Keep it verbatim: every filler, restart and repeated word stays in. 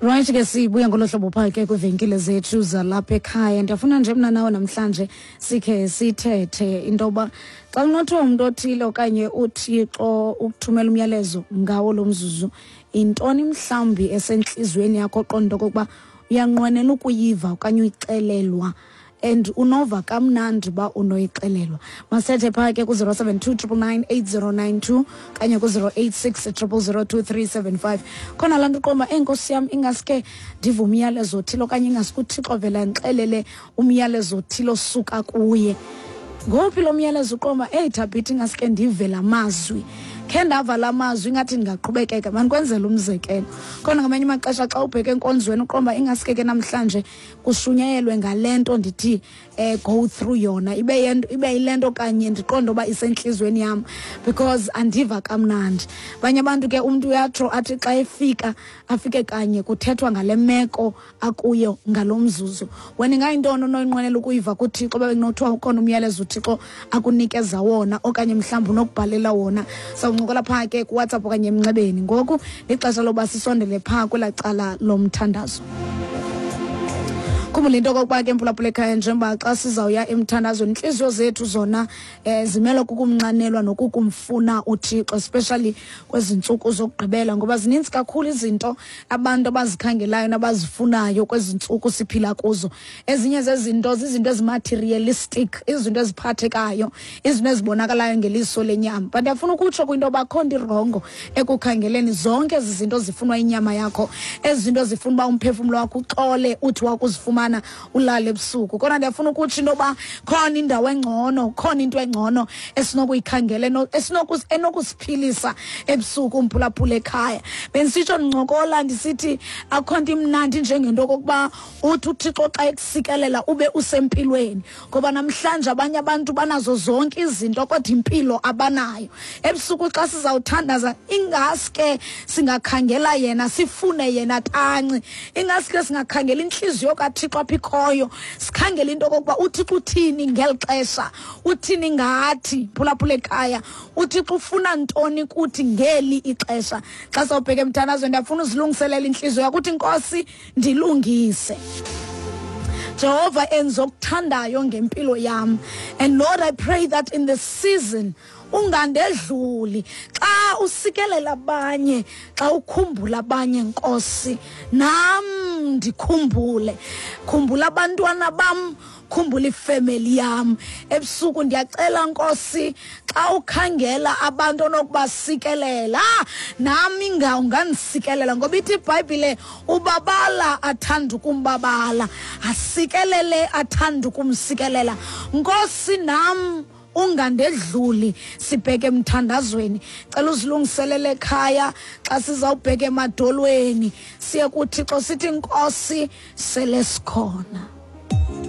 Right ke sibuya ngolo hlobo phaa ke kwiivenkile zethu zalapha ekhaya. Ndiyafuna nje mna nawe namhlanje sikhe sithethe into yoba xa kunothiwa umntu othile okanye uThixo ukuthumela umyalezo ngawo lo mzuzu, intoni mhlawumbi esentliziyweni yakho oqonda okokuba uyanqwenela ukuyiva okanye uyixelelwa, and unova kamnandi uba unoyixelelwa? Masithethe phaa ke ku-zero seven two triple nine eight zero nine two kanye ku-zero eight six triple zero two three seven five. Khona laa nto uqonda uba, enkosi yam, ingaske ndive umyalezo othile okanye ingaske uThixo vele andixelele umyalezo othile osuka kuye. Ngowuphi lo myalezo uqonda uba, eyi Thabitha, ingaske ndive la mazwi? Khe ndava la mazwi ingathi ndingaqhubekeka. Mandikwenzele umzekelo. Khona ngamanye amaxesha xa ubheke enkonzweni uqonda uba ingaske ke namhlanje kushunyayelwe ngale nto ndithi, eh, go through yona, ibe yento, ibe yile nto kanye ndiqonde uba isentliziyweni yam because andiva kamnandi. Abanye abantu ke umntu uyatsho athi xa efika afike kanye kuthethwa ngale meko akuyo ngalo mzuzu. Wena ingayintoni onoyinqwenela ukuyiva kuThixo uba bekunothiwa ukhona umyalezo uThixo akunikeza wona okanye mhlawumbi unokubhalela wona? Sawuncokola phaa ke kuWhatsApp okanye emnxebeni. Ngoku lixesha loba sisondele phaa kwelaa cala lomthandazo. Khumbula into okokuba ke mphulaphula ekhaya, njengoba xa sizawuya emthandazweni, intliziyo zethu zona, eh, zimele kukumnxanelwa nokukumfuna uThixo, especially kwezi ntsuku zokugqibela, ngoba zininzi kakhulu izinto abantu abazikhangelayo nabazifunayo kwezi ntsuku siphila kuzo. Ezinye zezinto zizinto ezimaterialistic, izinto eziphathekayo, izinto ezibonakalayo ngeliso lenyama. But ndiyafuna ukutsho kwinto yoba akho nto irongo ekukhangeleni zonke ezi zinto zifunwa inyama yakho, ezi zinto zifuna uba umphefumlo wakho uxole uthi wakuzifumana ulale ebusuku. Kodwa ndiyafuna ukutsho into yoba khona indawo engcono, khona into engcono esinokuyikhangela, eno-, esinokus-, enokusiphilisa ebusuku umphulaphula ekhaya. Bendisitsho ndincokola ndisithi akukho nto imnandi njengento okokuba uthi uThixo xa ekusikelela ube usempilweni, ngoba namhlanje abanye abantu banazo zonke izinto kodwa impilo abanayo. Ebusuku xa sizawuthandaza ingaske singakhangela yena, sifune yena tanci, ingaske singakhangela intliziyo kaThixo apho ikhoyo, sikhangele into okokuba uThixo uthini ngeli xesha, uthini ngathi, phulaphula ekhaya, uThixo ufuna ntoni kuthi ngeli ixesha. Xa sawubheka emthandazweni ndiyafuna uzilungiselela intliziyo yakho uthi, Nkosi, ndilungise. Jehova, enza okuthandayo ngempilo yam. And Lord, I pray that in the season ungandedluli. Xa usikelela abanye, xa ukhumbula abanye, Nkosi, nam ndikhumbule. Khumbula abantwana bam, khumbula ifemeli yam. Ebusuku ndiyacela, Nkosi, xa ukhangela abantu onokubasikelela, nam inga ungandisikelela, ngoba ithi iBhayibhile ubabala athanda ukumbabala, asikelele athanda ukumsikelela. Nkosi, nam ungandedluli. Sibheke emthandazweni. Cela uzilungiselele ekhaya xa sizawubheka emadolweni, siye kuThixo sithi, Nkosi, sele sikhona.